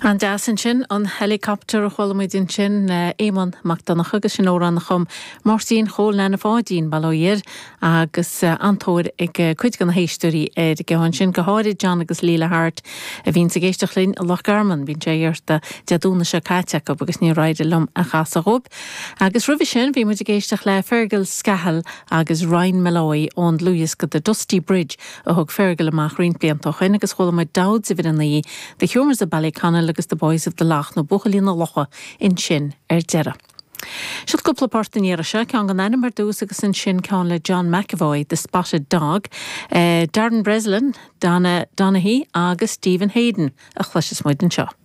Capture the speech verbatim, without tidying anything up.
An deas ansin an helicopter a chuala muid ansin Éamonn Mac Donncha agus sin amhrán a chum Máirtín Chóil Nana Pháidín Balóir agus an-tóir ag cuid de na héisteoirí ar an gceann sin go háirid John agus Leila Hart a bhíonn ag éisteacht linn i Loch Garman bhí sé iarrta Dé Domhnaigh seo caite acu agus níor éirigh liom a chasadh dóibh. Agus roimhe sin bhí muid ag éisteacht le Fergal Scahill agus Ryan Malloy ón dlúthdhiosca The Dusty Bridge a thug Fergal amach roinnt blianta ó shin agus chuala muid Dowds a bhí The Humours of Ballyconnell agus the Boys of the Lough nó Buachaillí na Locha ansin ar deireadh. Seo cúpla port an iarraidh seo ceann gan ainm ar dtús agus ansin ceann le John McAvoy, The Spotted Dog, uh, Darren Breslin, Donna Donaghy agus Stephen Hayden a chloisfidh muid anseo.